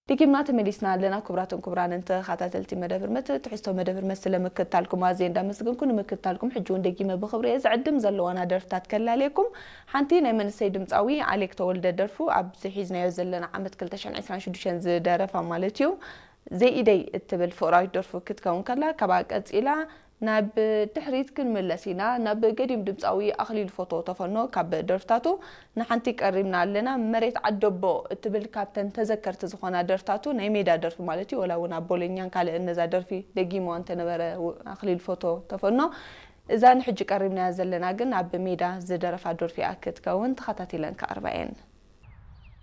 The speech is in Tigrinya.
ደጊምና ተመሊስና ኣለና። ክቡራትን ክቡራንን ተኸታተልቲ መደብ ህርመት፣ ትሕዝቶ መደብ ህርመት ስለ ምክትታልኩም ኣዝየ እንዳመስገንኩ፣ ንምክትታልኩም ሕጂ እውን ደጊመ ብኽብሪ እየ ዝዕድም። ዘለዋና ደርፍታት ከላልየኩም። ሓንቲ ናይ መንእሰይ ድምፃዊ ኣሌክ ተወልደ ደርፉ፣ ኣብዚ ሒዝናዮ ዘለና ዓመት ክልተ ሽሕን ዕስራን ሽዱሽተን ዝደረፋ ማለት እዩ፣ ዘይኢደይ እትብል ፍቕራዊት ደርፉ ክትከውን ከላ፣ ካብኣ ቀጺላ ናብ ድሕሪት ክንምለስ ኢና። ናብ ገዲም ድምፃዊ ኣኽሊሉ ፎቶ ተፈኖ ካብ ደርፍታቱ ንሓንቲ ቀሪብና ኣለና። መሬት ዓደቦ እትብል ካብተን ተዘከርቲ ዝኾና ደርፍታቱ፣ ናይ ሜዳ ደርፊ ማለት እዩ። ወላ እውን ኣብ ቦሎኛን ካልእን ነዛ ደርፊ ደጊምዋ እንተነበረ፣ ው-፣ ኣኽሊሉ ፎቶ ተፈኖ፣ እዛ ንሕጂ ቀሪብናያ ዘለና ግን ኣብ ሜዳ ዝደረፋ ደርፊ እያ ክትከውን። ተኸታቲለን ክቐርባ እየን።